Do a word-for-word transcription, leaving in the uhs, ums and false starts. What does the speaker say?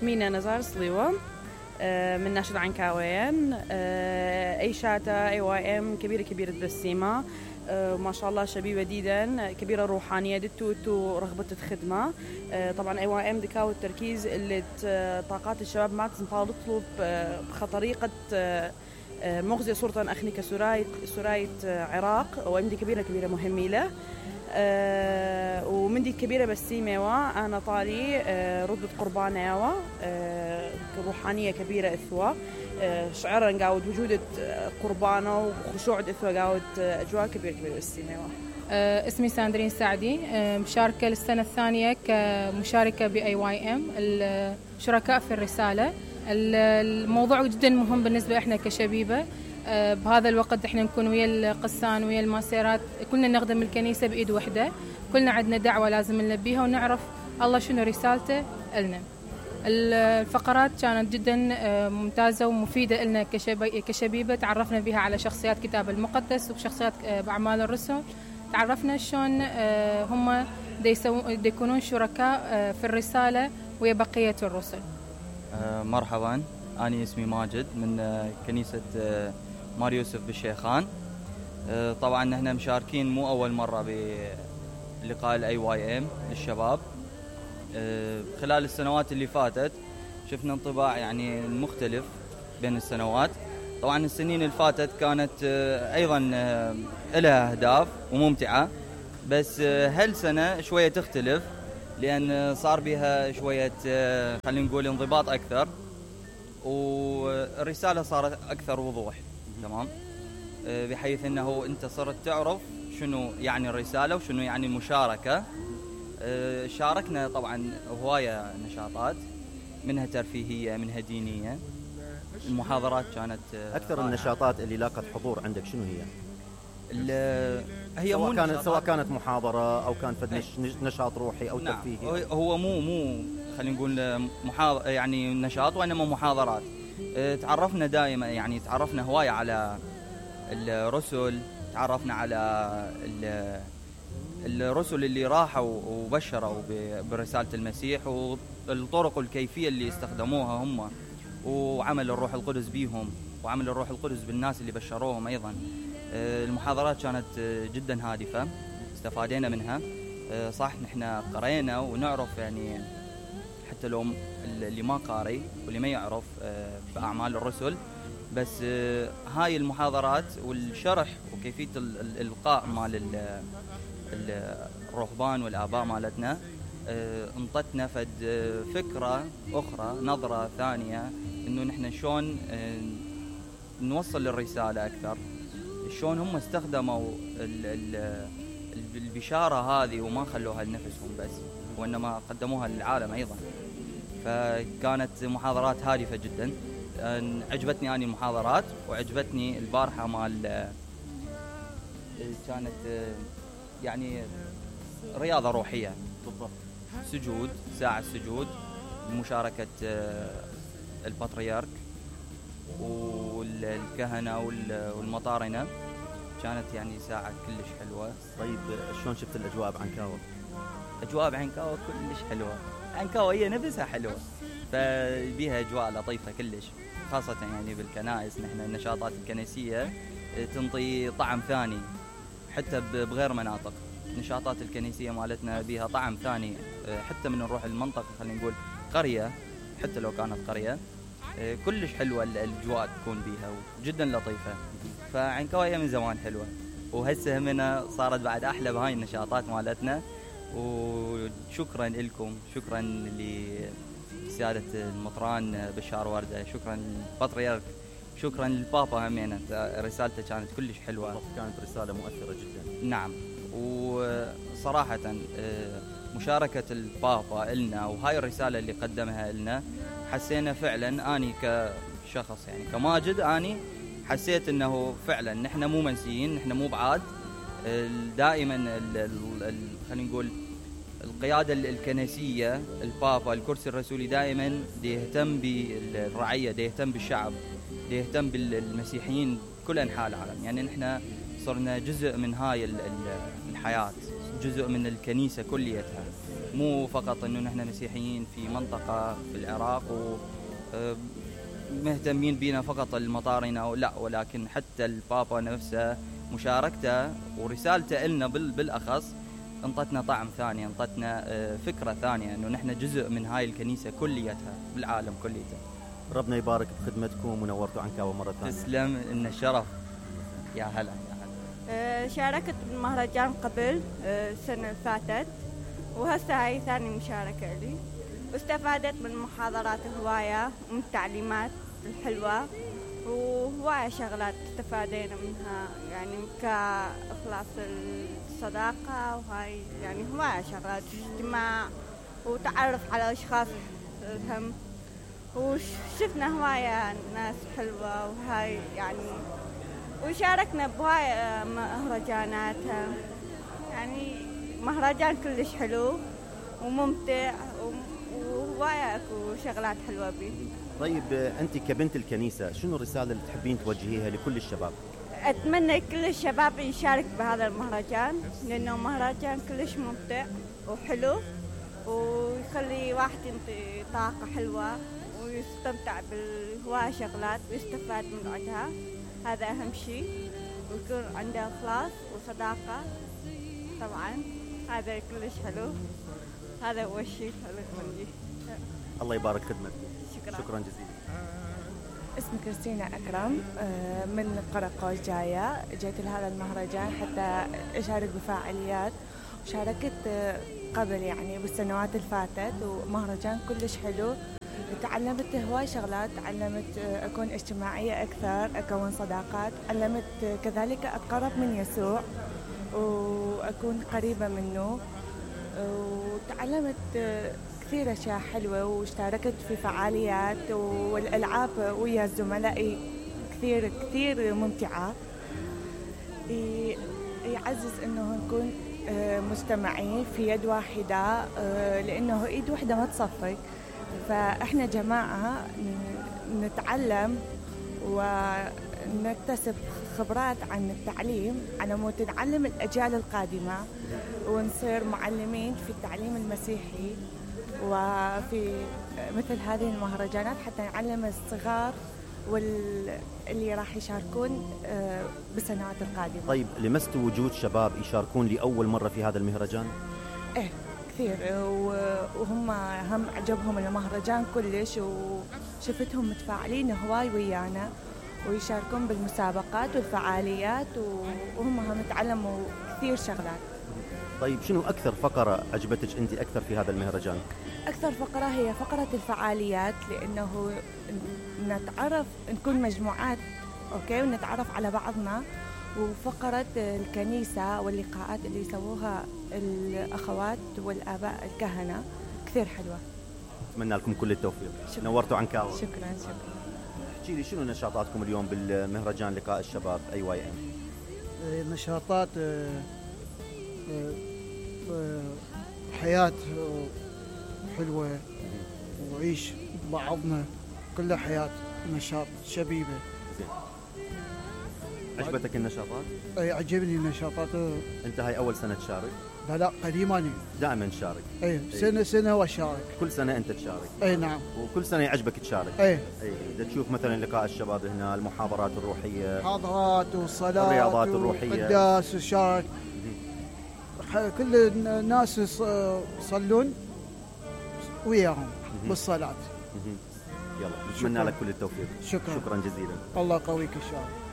مينا نزار صليوة من ناشد عنكاوين. أي شاتا أي واي إم كبيرة كبيرة بالسيما، ما شاء الله شبيبة جدا كبيرة روحانية دتو رغبة الخدمة. طبعا أي واي إم دكاو التركيز اللي طاقات الشباب ما تنفاض تطلب بطريقة مغزية صورة أخني كسراية سراية عراق، وإمدي كبيرة كبيرة مهمة له. أه ومندي كبيرة بالسيمة أنا طالي أه ردة قربانة أه روحانية كبيرة إثوة أه شعرا قاود وجودة قربانة وخشوع إثوة قاود أجواء كبيرة كبيرة بالسيمة. أه اسمي ساندرين سعدي، أه مشاركة للسنة الثانية كمشاركة بأي واي إم الشركاء في الرسالة. الموضوع جدا مهم بالنسبة إحنا كشبيبة. أه بهذا الوقت إحنا نكون ويا القسان ويا الماسيرات، كلنا نخدم الكنيسة بإيد واحدة، كلنا عندنا دعوة لازم نلبيها ونعرف الله شنو رسالته لنا. الفقرات كانت جدا ممتازة ومفيدة لنا كشبيبة، تعرفنا بها على شخصيات كتاب المقدس وشخصيات بأعمال الرسل، تعرفنا شلون هم دي يكونون شركاء في الرسالة ويا بقية الرسل. مرحبا، أنا اسمي ماجد من كنيسة مار يوسف بالشيخان. طبعا احنا مشاركين مو أول مرة بلقاء الاي واي ام للشباب. خلال السنوات اللي فاتت شفنا انطباع يعني مختلف بين السنوات. طبعا السنين اللي فاتت كانت أيضا لها أهداف وممتعة، بس هالسنة شوية تختلف لأن صار بها شوية خلينا نقول انضباط أكثر، والرسالة صارت أكثر وضوح. تمام، بحيث أنه أنت صرت تعرف شنو يعني الرسالة وشنو يعني المشاركة. شاركنا طبعا هواية نشاطات، منها ترفيهية منها دينية. المحاضرات كانت أكثر رائعة. النشاطات اللي لاقت حضور عندك شنو هي؟ هي سواء كانت سواء كانت محاضرة أو كان فد نشاط روحي أو نعم. ترفيهي. هو مو مو خلينا نقول محاضر يعني نشاط، وإنما محاضرات. تعرفنا دائما يعني تعرفنا هواية على الرسل، تعرفنا على الرسل اللي راحوا وبشروا برسالة المسيح، والطرق والكيفية اللي استخدموها هم، وعمل الروح القدس بيهم، وعمل الروح القدس بالناس اللي بشروهم أيضا. المحاضرات كانت جدا هادفة، استفادينا منها. صح نحن قرينا ونعرف يعني، حتى لو اللي ما قاري واللي ما يعرف بأعمال الرسل، بس هاي المحاضرات والشرح وكيفية الإلقاء مال الرهبان والآباء مالتنا انطتنا فد فكرة أخرى، نظرة ثانية، إنه نحن شون نوصل الرسالة أكثر، شون هم استخدموا البشارة هذه وما خلوها لنفسهم بس، وإنما قدموها للعالم أيضا. فكانت محاضرات هادفة جدا. عجبتني أني المحاضرات، وعجبتني البارحة مال كانت يعني رياضة روحية بالضبط، سجود، ساعة السجود، مشاركة البطريرك والكهنة والمطارنة. كانت يعني ساعة كلش حلوة. طيب شلون شفت الأجواء بعنكاوة؟ أجواء بعنكاوة كلش حلوة. عنكاوة هي نفسها حلوة، فبيها أجواء لطيفة كلش، خاصة يعني بالكنائس. نحن النشاطات الكنسية تنطي طعم ثاني حتى بغير مناطق. النشاطات الكنسية مالتنا بيها طعم ثاني، حتى من نروح المنطقة خلينا نقول قرية، حتى لو كانت قرية كلش حلوة الأجواء تكون بيها وجدا لطيفة. فعنكاوة من زمان حلوة، وهسه همنا صارت بعد أحلى بهاي النشاطات مالتنا. وشكرا لكم، شكرا لسيادة المطران بشار وردة، شكرا للبطريرك، شكرا للبابا همينة. رسالته كانت كلش حلوة، كانت رسالة مؤثرة جدا. نعم، وصراحة مشاركة البابا إلنا وهاي الرسالة اللي قدمها إلنا، حسينا فعلا أني كشخص يعني كماجد، أني حسيت أنه فعلا نحن مو منسيين، نحن مو بعاد. دائما خلينا نقول القيادة الكنسية، البابا، الكرسي الرسولي، دائما يهتم بالرعية، يهتم بالشعب، يهتم بالمسيحيين كل أنحاء العالم. يعني نحن صرنا جزء من هاي الحياة، جزء من الكنيسة كليتها. مو فقط انه نحن مسيحيين في منطقة في العراق ومهتمين بينا فقط المطارنة، لا، ولكن حتى البابا نفسه مشاركته ورسالته لنا بالأخص انطتنا طعم ثاني، انطتنا فكرة ثانية انه نحن جزء من هاي الكنيسة كليتها بالعالم كليته. ربنا يبارك بخدمتكم ونورتوا عنكاوة مرة ثانية. تسلم، إن الشرف. يا هلا يا هلا. شاركت بالمهرجان قبل السنة اللي فاتت، وهسه هاي ثاني مشاركة لي، واستفادت من المحاضرات هواية ومن التعليمات الحلوة، وهواية شغلات استفادينا منها، يعني كإخلاص الصداقة، وهاي يعني هواية شغلات اجتماع وتعرف على أشخاص هم، وشفنا هواية ناس حلوة، وهاي يعني وشاركنا بهواية مهرجانات، يعني مهرجان كلش حلو وممتع وهواية اكو شغلات حلوة بيه. طيب أنت كبنت الكنيسة شنو الرسالة اللي تحبين توجهيها لكل الشباب؟ أتمنى كل الشباب يشارك بهذا المهرجان، لأنه مهرجان كلش ممتع وحلو، ويخلي واحد ينطي طاقة حلوة ويستمتع بالهواية شغلات ويستفاد من عندها، هذا أهم شيء، ويكون عنده إخلاص وصداقة طبعا، هذا كلش حلو، هذا هو الشيء اللي الله يبارك خدمتك. شكرا, شكرا جزيلا. اسمي كريستينا أكرم من قرقوش جاية، جيت لهذا المهرجان حتى أشارك بفعاليات، وشاركت قبل يعني بالسنوات اللي فاتت، ومهرجان كلش حلو، تعلمت هواي شغلات، تعلمت أكون اجتماعية أكثر، أكون صداقات، علمت كذلك أتقرب من يسوع وأكون قريبة منه، وتعلمت كثير أشياء حلوة، واشتركت في فعاليات والألعاب ويا زملائي كثير كثير ممتعة. يعزز إنه نكون مجتمعين في يد واحدة، لأنه إيد واحدة ما تصفق، فإحنا جماعة نتعلم ونكتسب خبرات عن التعليم على مود نعلم الأجيال القادمة، ونصير معلمين في التعليم المسيحي وفي مثل هذه المهرجانات، حتى نعلم الصغار واللي راح يشاركون بالسنوات القادمة. طيب لمستوا وجود شباب يشاركون لأول مرة في هذا المهرجان؟ إيه كثير، وهم هم عجبهم المهرجان كلش، وشفتهم متفاعلين هواي ويانا ويشاركون بالمسابقات والفعاليات، وهم هم تعلموا كثير شغلات. طيب شنو أكثر فقرة عجبتك أنت أكثر في هذا المهرجان؟ أكثر فقرة هي فقرة الفعاليات، لأنه نتعرف نكون مجموعات أوكي ونتعرف على بعضنا، وفقرة الكنيسة واللقاءات اللي يسووها الأخوات والآباء الكهنة كثير حلوة. أتمنى لكم كل التوفيق. شكرا. نورتوا عنكاوة. شكرا شكرا. احكي لي شنو نشاطاتكم اليوم بالمهرجان لقاء الشباب أي واي إم؟ نشاطات حياة حلوة، وعيش بعضنا كلها حياة، نشاط شبيبة. عجبتك النشاطات؟ اي عجبني النشاطات. انت هاي اول سنة تشارك؟ لا لا قديماني دائما تشارك. اي سنة سنة واشارك. كل سنة انت تشارك؟ اي نعم. وكل سنة يعجبك تشارك؟ اي اي اذا تشوف مثلا لقاء الشباب هنا، المحاضرات الروحية، محاضرات وصلاة، الرياضات الروحية، قداس وشارك، كل الناس يصلون وياهم بالصلاة. يلا نتمنى لك كل التوفيق. شكرا. شكرا جزيلا. الله يقويك ان شاء الله.